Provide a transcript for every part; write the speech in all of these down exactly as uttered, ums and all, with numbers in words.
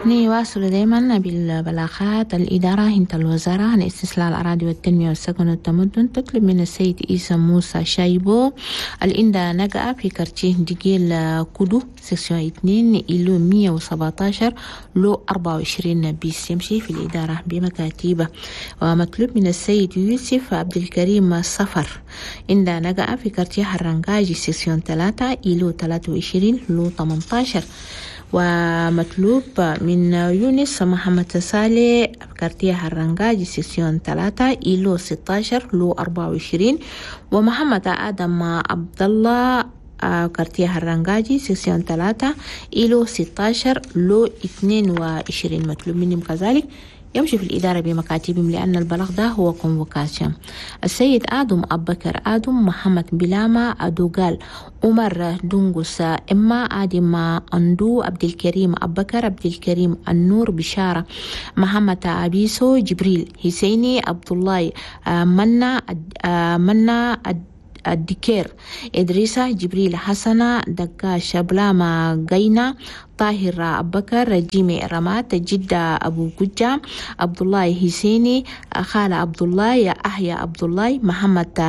نواصل دايما بالبلاغات. الإدارة هنت الوزارة عن استصلاح الأراضي والتنمية والسكن والتمدن تطلب من السيد إيسا موسى شايبو الإندا نقع في quartier ديجيل كودو section اثنين îlot مية وسبعتاشر lot أربعة وعشرين bis يمشي في الإدارة بمكاتيبة. ومطلوب من السيد يوسف عبد الكريم صفر إندا نقع في quartier حرنجاجي section ثلاثة îlot ثلاثة وعشرين lot ثمانتاشر. ومطلوب من يونس محمد صالح quartier هرنجاجي section ثلاثة îlot ستاشر lot أربعة وعشرين. ومحمد آدم عبد الله quartier هرنجاجي section ثلاثة îlot ستاشر lot اثنين وعشرين. مطلوب منهم كذلك يمشي في الإدارة بمكاتبهم لأن البلاغ ده هو convocation. السيد آدم أبكر آدم محمد بلاما أدوغال عمر دونغوس إما آدم أندو عبد الكريم أبكر عبد الكريم النور بشارة محمد أبيسو جبريل حسيني عبد الله منا منا الدكير إدريسة جبريل حسنة دقاش بلاما غينا طاهر أبكر جيمي رمات جدة أبو ججة عبد الله حسيني خالة عبد الله أحيا عبد الله محمد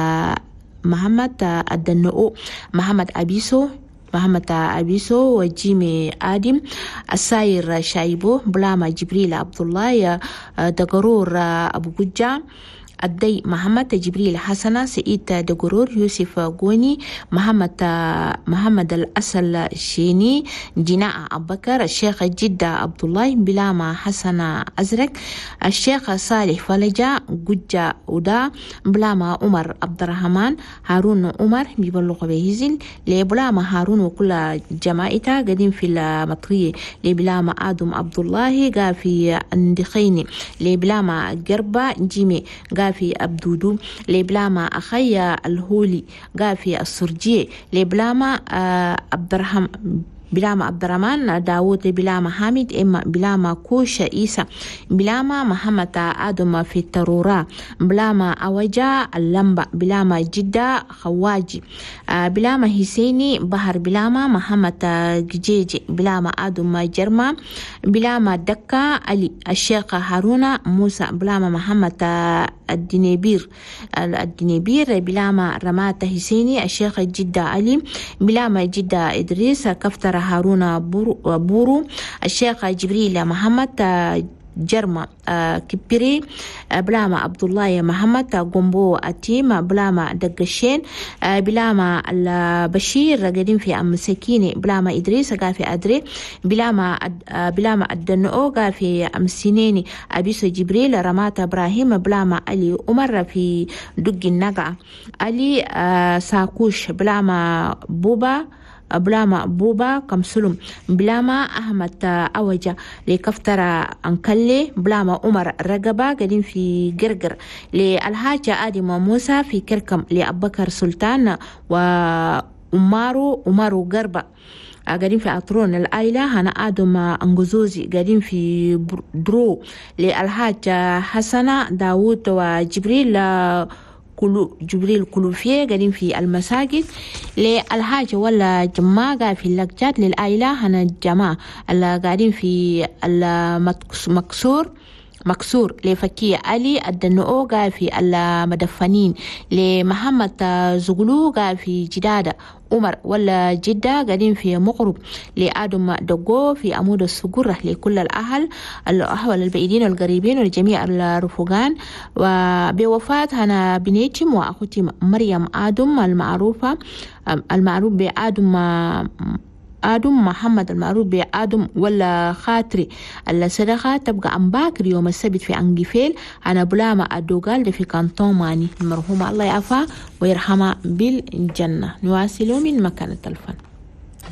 محمد الدنؤ محمد أبيسو محمد أبيسو وجيمي آدم الساير شايبو بلاما جبريل عبد الله دقرور أبو ججة الدي محمد جبريل حسنة سعيد دقرور يوسف غوني محمد محمد الأسل شيني جناء أبكر الشيخ جدة عبد الله بلاما حسنة أزرق الشيخ صالح فلجة ججة ودا بلاما عمر عبد الرحمن هارون عمر بيبلغ بهزل لبلاما هارون وكل جماعته قديم في المطرية لبلاما آدم عبد الله قا في اندخيني لبلاما قربة جيمي قا في أبدودو لبلاما أخي الهولي قافي السرجية لبلاما عبد الرحمن بلاما عبد الرحمن داوود بلاما حامد إما بلاما كوش إيسا بلاما محمد آدم في الترورة بلاما أوجا اللمبة بلاما جدة خواجي بلاما حسيني بحر بلاما محمد جيجي بلاما آدم جرما بلاما دكا علي الشيخ هارون موسى بلاما محمد الدنيبير الدنيبير بلاما رمات حسيني الشيخ جدة علي بلاما جدة إدريس كفتر هارون بورو الشيخ جبريل محمد جرما كبيري بلاما عبد الله محمد قنبو أتيم بلاما دقشين بلاما البشير قديم في أم سكيني بلاما إدريس قال في أدري بلاما بلاما الدنؤ قال في أم سنيني أبيسو جبريل رمات إبراهيم بلاما علي عمر في دق النقع علي ساكوش بلاما بوبا بلاما بوبا كمسلم بلاما أحمد أوجا لكفتر أنكلي بلاما عمر رقبة قديم في قرقر للحاجة آدم موسى في كركم لأبكر سلطان وأمارو أمارو قربة قاعدين في أطرون العائلة هنا آدم أنجزوزي قاعدين في درو للحاج حسنة داوود وجبريل كلو جبريل كلوفية قاعدين في المساجد للحاجة ولا جماعة في اللقجات للعائلة هنا الجماعة اللي قاعدين في المكسور مكسور لفكية علي الدنؤو قاعد في المدفنين لمحمد زغلو قاعد في جدادة عمر ولا جدة قاعدين في مغرب لآدم دقو في عمود السجرة لكل الأهل الأحوال البعيدين والقريبين والجميع الرفقان. وبوفاة هنا بنيتم وأخوتي مريم آدم المعروفة المعروف بآدم آدم محمد المعروف بآدم ولا خاطري الصدقة تبقى أم باكر يوم السبت في أنجفيل أنا بلاما أدوغال في كانتون ماني المرحومة الله يعفى ويرحمها بالجنة. نواصل من مكان الفن.